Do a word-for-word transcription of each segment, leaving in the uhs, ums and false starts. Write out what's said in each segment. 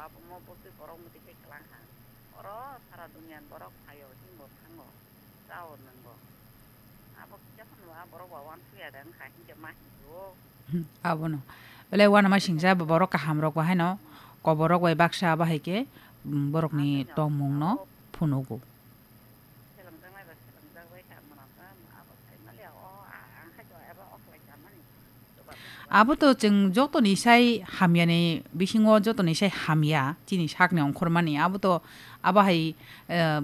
Omo bwtwi borok mwtwi khe kwlang ha. Oro sara duniani borok phaio, chwngbo thango, chao nwngo. Abo kisa phano a borok ba uansukya de wngkha, hinkhe ma hinwi o. Hmm, abono. Belai uanama singcha borok kahamrok bo haino koborok bai baksa abo hai khe, um, borokni tongmungno phunugo. Abo to chwng jotoni sai hamyani bisingo jotoni sai hamya chini sakni ongkhormani abo to abo hai, eh,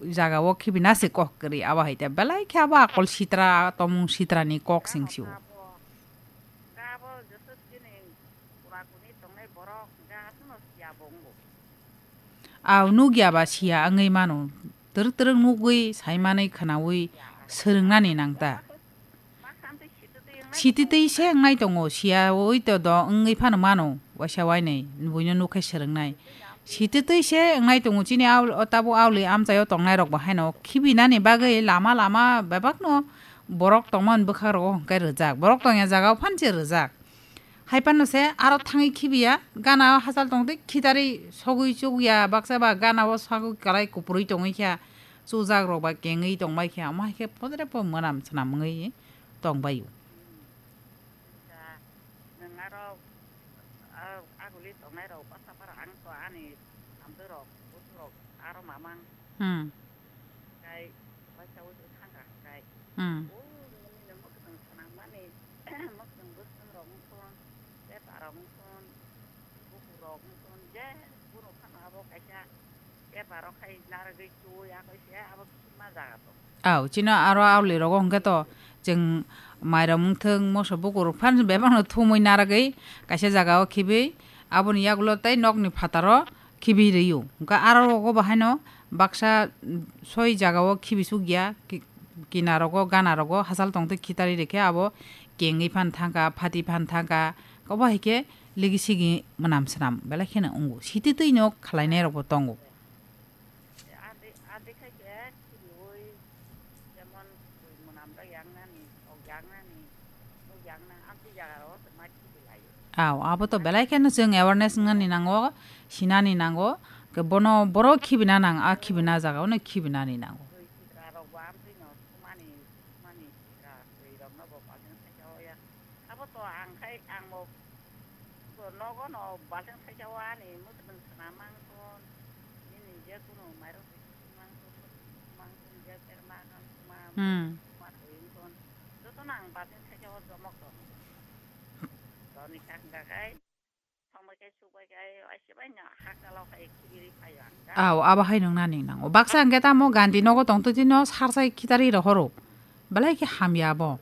jagao khibina se kok kwrwi abo hai te belai khe abo akol sitra tomung sitrani kok sing sio. Aw nukya ba siya wngwi mano. Twrwk twrwk nugwi, saimanwi, khwnawi swrwngnani nang ta. Sititwi se wngnai tongo, siyaui to do wngwi phano mano, waisa wainwi buino nukhai swrwngnai. Sititwi se wngnai tongo, chini aul-, o tabuk auli amchaio tongnairok bo haino khibinani bagwi lama lama bebakno borok tongmani bwkhagrogo hwnkhe rwjak. Borok tongya jagao phanse rwjak. Hai phano se aro thangwi khibiya, gana o hachal tongtwi khitarwi sogwi chukya, baksa ba gana o sagwi kwlai kupurwi tongwi kha, chujak rok ba kengwi tongbai kha, omo hai khe podre po mwnam swnam wngwi tongbai o. Nwng aro, ah, aguli tongnai rok bwsa para ang to ani hamtwi rok, busu rok aro mamang. Hmm. Kai, waisa waisa thangkha kai. Hmm. O, nini no mwkhwtwng swnam mani, mwkhwtwng bwswng rok wngkon, pepa rok wngkon, bukur rok wngkon, je bono phano abo kaisa pepa rok khai narwgwi chuwi, a kaisa abo kisa ma jaga to. Aw, chino aro auli rogo hwnkhe to chwng mairum wngthwng, moso bukur rok phan bebakno thumwi narwgwi kaisa jagao khibwi aboni yagulo tei nokni phataro khibi rw-o. Hwnkhe aro rogo bo haino baksa, mm, soi jagao khibi sukya, ki-, kinarogo, ganarogo hachal tongtwi khitarwi rikhe abo kengwi phan thangkha, phati phan thangkha, obo hai khe ligi sigi mwnam swnam belai kheno wngo. Sititwino khwlainairokbo tongo. Aw, abo to belai kheno chwng awareness wngnani nango, sinani nango, ke bono borok khibina nang, a khibina jaga ono khibinani nango. Abo to ang khai, ang bo to nogo no balting khaisa o ani mwkhwtwng swnam mangkon, nini je kunu mairok twi mangkon, mangkon je ter ma kan ma Hmm. ma twi wngkon. Joto no ang balting khaisa o jomok tong. Toni kha hwnkha khai, thongbai khai, sukbai khai, aise bai no hakalo khai khibiri phaio ang. Aw, abo hai nung nani nango. Baksa hwnkhe tamo Gandhi nogo tong twi no sarsai khitari rohoro. Belai khe hamya abo.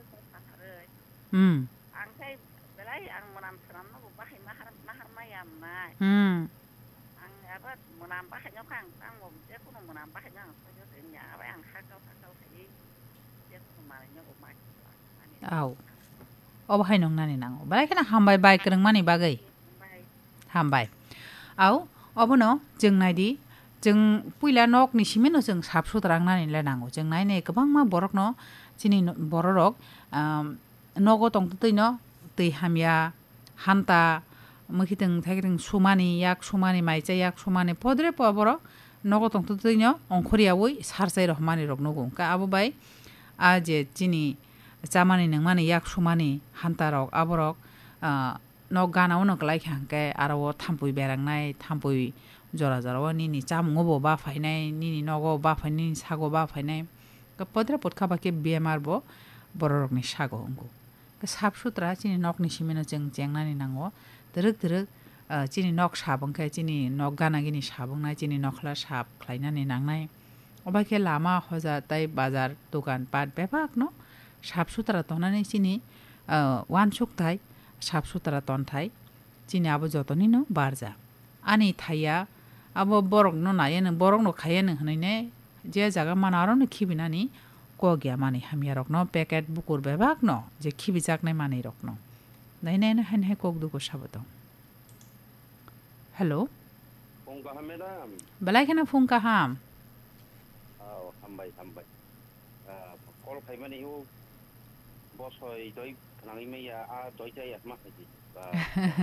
Hmm. Ang khai belai ang mwnam swnamno bo bahai mahar, mahar maya mwnai. Hmm. Ang abo mwnam bahai no kha ang tangbo je kunu mwnam bahai no ang sojo se nya abo ang hakal hakal khai je kunu manai no bo ma. Aw. Obo hai nung nani nango. Belai kheno hambai bai kwrwng mani bagwi. Hambai. Aw, obono chwng naidi, chwng puila nokni simino chwng sap sutra wngnani le nango. Chwng nainai kwbangma borokno chini no-, bororok, um, nogo tongtwtwino twi hamya, hanta, mwkhitwng thaikwrwng sumani, yak sumani, maicha yak sumani, podre po borok nogo tongtwtwino ongkhoryaui sarsai rohormani rok nugo. Hwnkhe abo bai a je chini chamani nungmani yak sumani hantarok, aborok, ah, nok gana-o no kwlai kha hwnkhe aro o thampui berangnai, thampui jora jora o nini chamungo bo baphainai, nini nogo baphainai, nini sago baphainai. Podre podkha bai khe bemar bo bororokni sago wngo. Khe sap sutra chini nokni simino chwng chengnani nango. Twrwk twrwk, ah, chini nok sap wngkhe chini nok gana gini sap wngnai, chini nokhla sap khlainani nangnai. Obo khe lama hoja tei bazar dogan pat bebakno sap sutra tongnani chini, ah, uansukthai, sap sutra tonthai chini abo jotonino barja. Ani thaiya abo borokno naiya nw, borokno khaiya nw hwnwi ne je jaga mano arono khibinani kok ya manwi hamya rokno packet bukur bebakno je khibijaknai manwi rokno. Nai nai nw haino hai kok dugo sabo tong. Hello. Phung kaham, madam? Belai kheno phung kaham. Oh, hambai, hambai. Ah, call khaimani o bosoi doi khnangwi maya, a doi jaya ma khaidi. Ba,